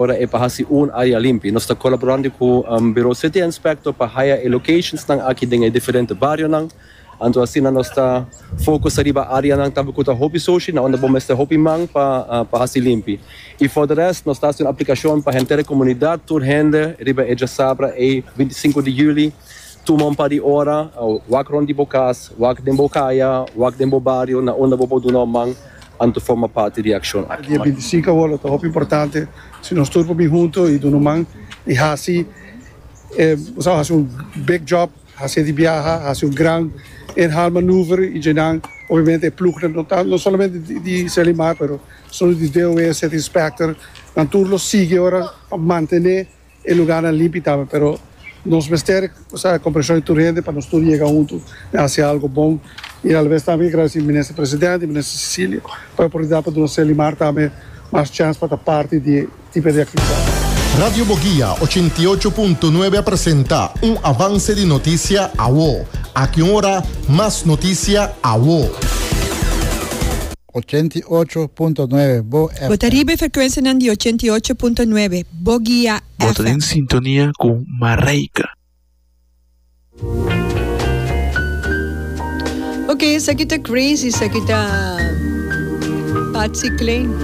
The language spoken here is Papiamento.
Ora e pa hasi un área limpi. Nos ta kolaborando ku Bureau City Inspector pa haya e locationsnan aki den e diferente barionan. Anto asina nos ta focus ariba áreanan tambe ku ta hopi sushi, na unda bo mester hopi man pa pa hasi limpi. I for de rest nos ta hasi un aplikashon pa henter e komunidat, tur hende riba e djasabra ei 25 di juli tuma un par di ora, wak rond di bo kas, wak den bo kaya, wak den bo bario na unda bo por duna un man. Anto forma parti di e akshon aki. Dia 25 awor lo ta hopi importante si nos tur por bin hunto y duna un man y haci e bo sa haci un big job, haci di biaha, haci un gran inhaalmanoeuvre y djenan obviamente e ploegnan no ta no solamente di Selimar pero solo di DOW, City Inspector, nan tur lo sigui ora pa mantene E lugarnan limpi tambe, pero nos mester sa e comprension di tur hende pa nos tur yega hunto y haci algo bon. Y alabes tambe ki gradici Minister Presidente y Minister Cecilia pa e oportunidad pa duna Selimar tambe mas chance pa ta parti di e tipo di actividad. Radio Boguia 88.9 a presenta un avance di noticia awo. Aki un ora, mas noticia awo. 88.9 Bo FM. Bo ta riba e frekuensianan di 88.9 Bo Guia Bo ta FM. den sintonia ku Marijke. Ok, esaki ta crazy, esaki ta Patsy Cline.